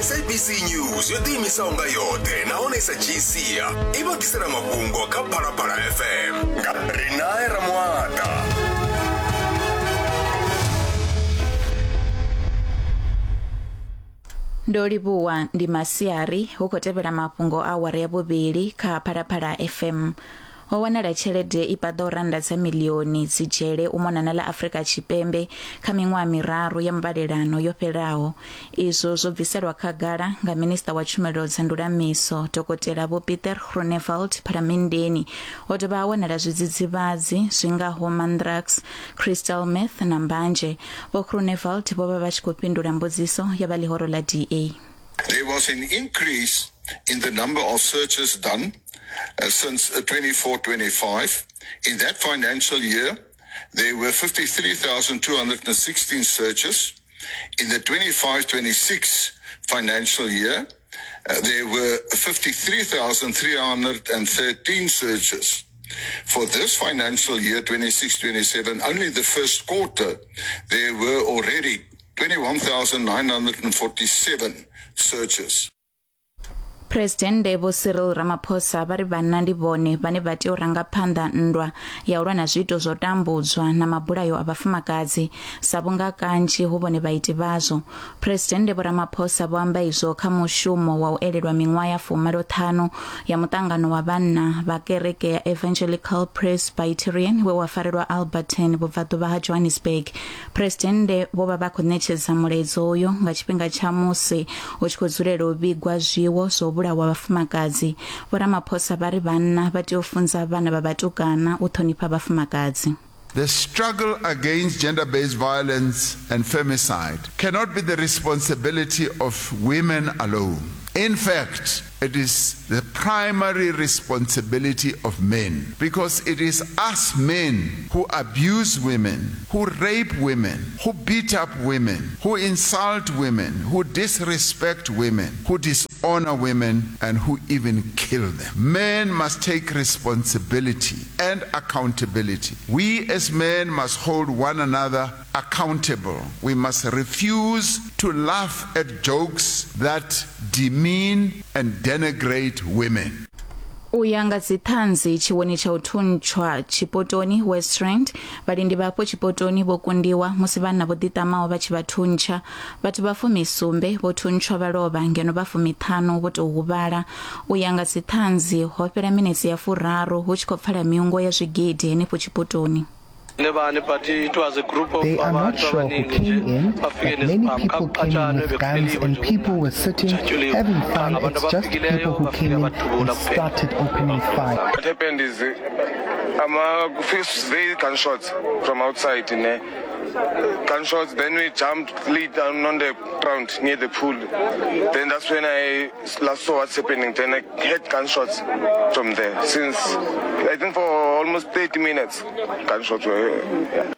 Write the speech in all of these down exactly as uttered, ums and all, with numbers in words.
S A B C News yo ḓiimisaho nga yoṱhe nahone sa G C i vha ḓisela mafhungo kha Phalaphala F M nga Rinae Ramuata. Ndo livhuwa ndi masiari hu khou tevhela mafhungo a awara ya vhuvhili kha Phalaphala F M. Ho wanala tshelede i paḓaho rannda dza miḽioni dzi dzhele u mona na ḽa Afrika Tshipembe kha miṅwaha miraru ya mbalelano yo fhelaho. Izwo zwo bviselwa khagala nga minista wa tshumelo dza ndulamiso Dokotela Vho Peter Groenewald Phalamenndeni. Ho dovha ha wanala zwidzidzivhadzi zwi ngaho mandrax, crystal meth na mbanzhe. Vho Groenewald vho vha vha tshi khou fhindula mbudziso ya vha ḽihoro ḽa D A. There was an increase in the number of searches done uh, since twenty-four twenty-five. In that financial year, there were fifty-three thousand two hundred sixteen searches. In the twenty-five twenty-six financial year, uh, there were fifty-three thousand three hundred thirteen searches. For this financial year, twenty-six twenty-seven, only the first quarter, there were already twenty-one thousand nine hundred forty-seven searches. President Vho Cyril Ramaphosa vha ri vhanna ndi vhone vhane vha tea u ranga phanḓa nndwa ya u lwa na zwiito zwo tambudzwa na mabulayo a vhafumakadzi sa vhunga kanzhi hu vhone vhaiti vhazwo. President Vho Ramaphosa vho amba izwo kha mushumo wa u elelwa miṅwaha ya fumalo ṱhanu ya muṱangano wa vhanna vha kereke ya Evangelical Presbyterian we wa farelwa Alberton vhubvaḓuvha ha Johannesburg. President vho vha vha khou ṋetshedza mulaedza uyo nga tshifhinga tsha musi hu tshi khou dzulela u vhigwa zwiwo zwo wa vhafumakadzi. Vho Ramaphosa vha ri vhanna vha tea u funza vhana vha vhatukana u ṱhonifha vhafumakadzi. The struggle against gender-based violence and femicide cannot be the responsibility of women alone. In fact, it is the primary responsibility of men, because it is us men who abuse women, who rape women, who beat up women, who insult women, who disrespect women, who dishonor women, and who even kill them. Men must take responsibility and accountability. We as men must hold one another accountable. We must refuse to laugh at jokes that demean and denigrate women. U ya nga dziṱhanzi tshiwoni tsha u thuntshwa Tshipotoni West Rand, vhalindi vhafho Tshipotoni vho kundiwa musi vhanna vho ḓiṱamaho vha tshi vha thuntsha. Vhathu vha fumisumbe vho thuntshwa vha lovha ngeno vha fumiṱhanu vho tou huvhala. U ya nga dziṱhanzi ho fhela minetse ya furaru hu tshi khou pfala miungo ya zwigidi henefho Tshipotoni. They are not sure who came in, but many people came in with guns and people were sitting, having fun. It's just people who came in and started opening fire. What happened is, um, uh, first they gunshots from outside, in there. Gunshots, then we jumped, laid down on the ground near the pool. Then that's when I last saw what's happening. Then I heard gunshots from there. Since, I think for almost thirty minutes, gunshots were... Yeah.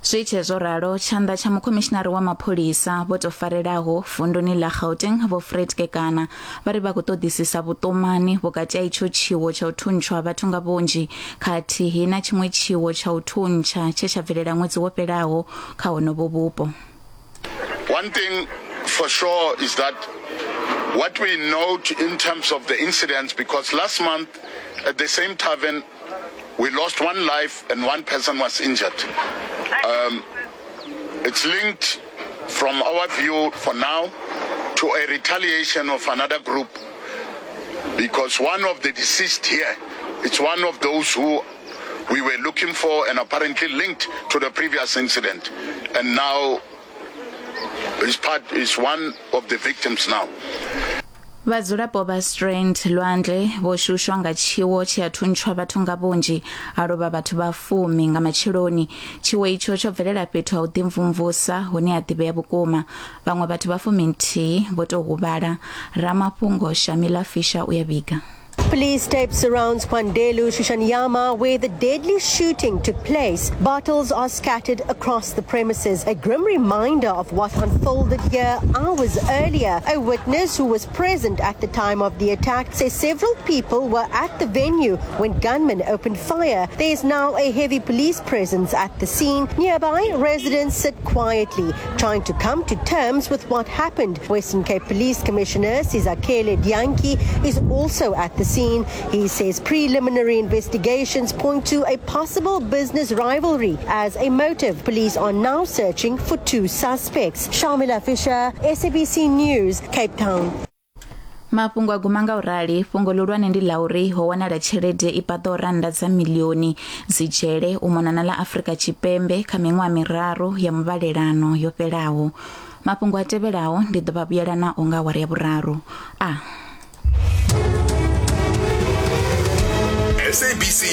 Zwi tshe zwo ralo, tshanḓa tsha mukhomishinari wa mapholisa vho tou farelaho vunduni ḽa Gauteng Vho Fred Kekana vha ri vha khou ṱoḓisisa vhuṱumani vhukati ha itsho tshiwo tsha u thuntshwa vhathu nga vhunzhi khathihi na tshiṅwe tshiwo tsha u thuntsha tshe tsha bvelela ṅwedzi wo fhelaho kha honovho vhupo. One thing for sure is that what we note in terms of the incidents, because last month at the same tavern we lost one life and one person was injured. Um, it's linked, from our view for now, to a retaliation of another group, because one of the deceased here, it's one of those who we were looking for and apparently linked to the previous incident. And now is part is one of the victims now. Vhadzulapo vha Strand Lwandle vho shushwa nga tshiwo tshi a thuntshwa vhathu nga vhunzhi ha lovha vhathu vha fumi nga matsheloni. Tshiwo itsho tsho bvelela fhethu ha u ḓimvumvusa hune ha ḓivhea vhukuma. Vhaṅwe vhathu vha fumi nthihi vho tou huvhala. Ramafhungo Shamila Fisher u ya vhiga. Police tape surrounds Kwandelu Shishanyama, where the deadly shooting took place. Bottles are scattered across the premises, a grim reminder of what unfolded here hours earlier. A witness who was present at the time of the attack says several people were at the venue when gunmen opened fire. There is now a heavy police presence at the scene. Nearby, residents sit quietly, trying to come to terms with what happened. Western Cape Police Commissioner Sizakele Dianki is also at the scene. He says preliminary investigations point to a possible business rivalry as a motive. Police are now searching for two suspects. Shamila Fisher, S A B C News, Cape Town. Mafhungo a guma nga u rali fhungo ḽihulwane ndi ḽa uri ho wanala tshelede i paḓaho rannda dza miḽioni dzi dzhele u mona na ḽa Afrika Tshipembe kha miṅwaha miraru ya muvhalelano yo fhelaho. Mafhungo a tevhelaho ndi ḓo vha vhuyela nao nga awara ya vhuraru. A S A B C